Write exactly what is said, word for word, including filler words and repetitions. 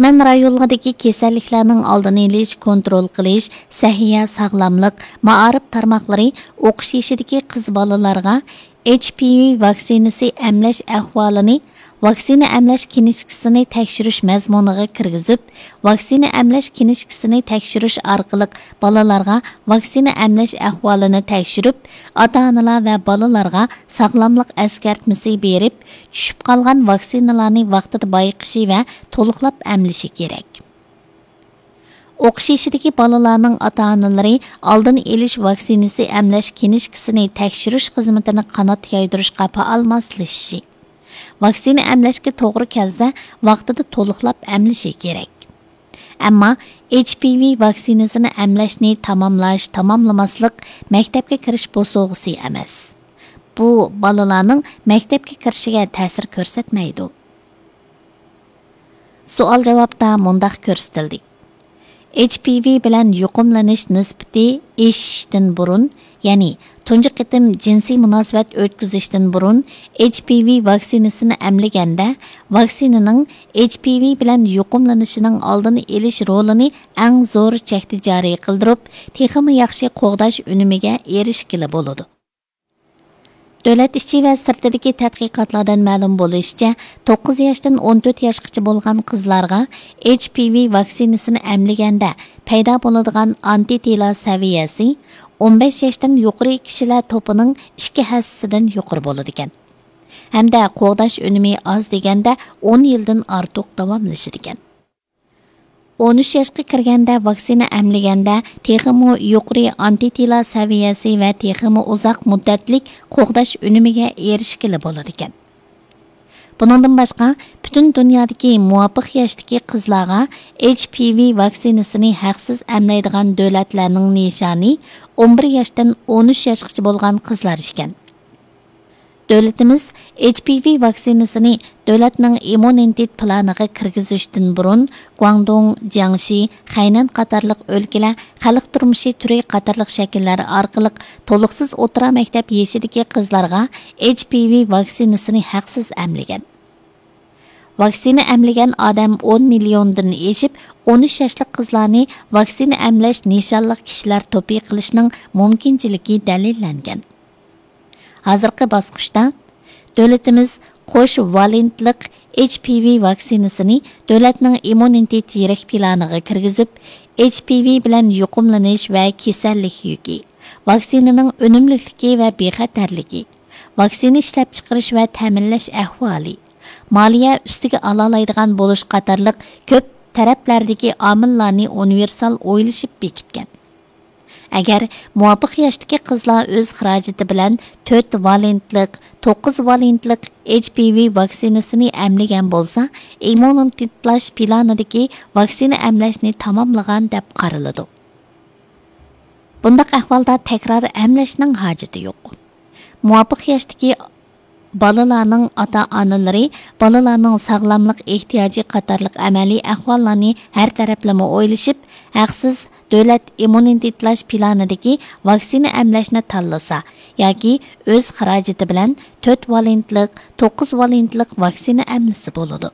تۈمەن رايونلىرىدىكى كېسەللىكلەرنىڭ ئالدىنى ئېلىش، كونترول قىلىش، سەھىيە، ساغلاملىق، مائارىپ تارماقلىرى ئوقۇش يېشىدىكى قىز بالىلارغا ئېچ پى ۋى ۋاكسىنىسى ئەملەش ئەھۋالىنى ۋاكسىنا ئەملەش كىنىشكىسىنى تەكشۈرۈش مەزمۇنىغا كىرگۈزۈپ، ۋاكسىنا ئەملەش كىنىشكىسىنى تەكشۈرۈش ئارقىلىق بالىلارغا ۋاكسىنا ئەملەش ئەھۋالىنى تەكشۈرۈپ، ئاتا-ئانىلار ۋە بالىلارغا ساغلاملىق ئەسكەرتمىسى بېرىپ، چۈشۈپ قالغان ۋاكسىنىلارنى ۋاقتىدا بايقىشى ۋە تولۇقلاپ ئەملىشى كېرەك. ئوقۇش يېشىدىكى بالىلارنىڭ ئاتا-ئانىلىرى ئالدىنى ئېلىش ۋاكسىنىسى ئەملەش كىنىشكىسىنى تەكشۈرۈش خىزمىتىنى قانات يايدۇرۇشقا پائال ماسلىشىشى، ۋاكسىنا ئەملەشكە توغرا كەلسە، ۋاقتىدا تولۇقلاپ ئەملىشى كېرەك. ئەمما ئېچ پى ۋى ۋاكسىنىسىنى ئەملەشنى تاماملاش، تاماملىماسلىق مەكتەپكە كىرىش بوسۇغىسى ئەمەس. بۇ بالىلارنىڭ مەكتەپكە كىرىشىگە تەسىر كۆرسەتمەيدۇ. سوئال-جاۋابتا مۇنداق كۆرسىتىلدى: ئېچ پى ۋى بىلەن يۇقۇملىنىش نىسبىتى ئېشىشتىن بۇرۇن، يەنى تۇنجى قېتىم جىنسىي مۇناسىۋەت ئۆتكۈزۈشتىن بۇرۇن ئېچ پى ۋى ۋاكسىنىسىنى ئەملىگەندە، ۋاكسىنىنىڭ ئېچ پى ۋى بىلەن يۇقۇملىنىشنىڭ ئالدىنى ئېلىش رولىنى ئەڭ زور چەكتە جارى قىلدۇرۇپ، تېخىمۇ ياخشى قوغداش ئۈنۈمىگە ئېرىشكىلى بولىدۇ. دۆلەت ئىچى ۋە سىرتىدىكى تەتقىقاتلاردىن مەلۇم بولۇشىچە، توققۇز ياشتىن ئون تۆت ياشقىچە بولغان قىزلارغا ئېچ پى ۋى ۋاكسىنىسىنى ئەملىگەندە پەيدا بولىدىغان ئانتىتىلا سەۋىيەسى ئون بەش ياشتىن يۇقىرى كىشىلەر توپىنىڭ ئىككى ھەسسىسىدىن يۇقىرى بولىدىكەن. ھەمدە قوغداش ئۈنۈمى ئاز دېگەندە ئون يىلدىن ئارتۇق داۋاملىشىدىكەن. ئون ئۈچ ياشقا كىرگەندە ۋاكسىنا ئەملىگەندە تېخىمۇ يۇقىرى ئانتىتىلا سەۋىيەسى ۋە تېخىمۇ ئۇزاق مۇددەتلىك قوغداش ئۈنۈمىگە ئېرىشكىلى بولىدىكەن. بۇنىڭدىن باشقا، پۈتۈن دۇنيادىكى مۇۋاپىق ياشتىكى قىزلارغا ئېچ پى ۋى ۋاكسىنىسىنى ھەقسىز ئەملەيدىغان دۆلەتلەرنىڭ نىشانى ئون بىر ياشتىن ئون ئۈچ ياشقىچە بولغان قىزلار ئىكەن. دۆلىتىمىز ئېچ پى ۋى ۋاكسىنىسىنى دۆلەتنىڭ ئىممۇنىتېت پىلانىغا كىرگۈزۈشتىن بۇرۇن، گۇاڭدۇڭ، جياڭشى، خەينەن قاتارلىق ئۆلكىلەر خەلق تۇرمۇشى تۈرى قاتارلىق شەكىللەر ئارقىلىق تولۇقسىز ئوتتۇرا مەكتەپ يېشىدىكى قىزلارغا ئېچ پى ۋى ۋاكسىنىسىنى ھەقسىز ئەملىگەن. ۋاكسىنا ئەملىگەن ئادەم ئون مىليوندىن ئېشىپ، ئون ئۈچ ياشلىق قىزلارنى ۋاكسىنا ئەملەش نىشانلىق كىشىلەر توپى قىلىشنىڭ مۇمكىنچىلىكى دەلىللەنگەن. ھازىرقى باسقۇچتا دۆلىتىمىز قوش ۋالېنتلىق ئېچ پى ۋى ۋاكسىنىسىنى دۆلەتنىڭ ئىممۇنىتېت يىرىك پىلانىغا كىرگۈزۈپ، ئېچ پى ۋى بىلەن يۇقۇملىنىش ۋە كېسەللىك يۈكى، ۋاكسىنىنىڭ ئۈنۈملۈكلۈكى ۋە بىخەتەرلىكى، ۋاكسىنا ئىشلەپچىقىرىش ۋە تەمىنلەش ئەھۋالى، مالىيە ئۈستىگە ئالالايدىغان بولۇش قاتارلىق كۆپ تەرەپلەردىكى ئامىللارنى ئۇنىۋېرسال ئويلىشىپ بېكىتكەن. ئەگەر مۇۋاپىق ياشتىكى قىزلار ئۆز خىراجىتى بىلەن تۆت ۋالېنتلىق، توققۇز ۋالېنتلىق ئېچ پى ۋى ۋاكسىنىسىنى ئەملىگەن بولسا، ئىممۇنىتېتلاش پىلانىدىكى ۋاكسىنا ئەملەشنى تاماملىغان دەپ قارىلىدۇ. بۇنداق ئەھۋالدا تەكرار ئەملەشنىڭ ھاجىتى يوق. مۇۋاپىق ياشتىكى بالىلارنىڭ ئاتا-ئانىلىرى بالىلارنىڭ ساغلاملىق ئېھتىياجى قاتارلىق ئەمەلىي ئەھۋاللارنى ھەر تەرەپلىمە ئويلىشىپ، ھەقسىز دۆلەت ئىممۇنىتېتلاش پىلانىدىكى ۋاكسىنا ئەملەشنى تاللىسا ياكى ئۆز خىراجىتى بىلەن تۆت ۋالېنتلىق، توققۇز ۋالېنتلىق ۋاكسىنا ئەملىسە بولىدۇ.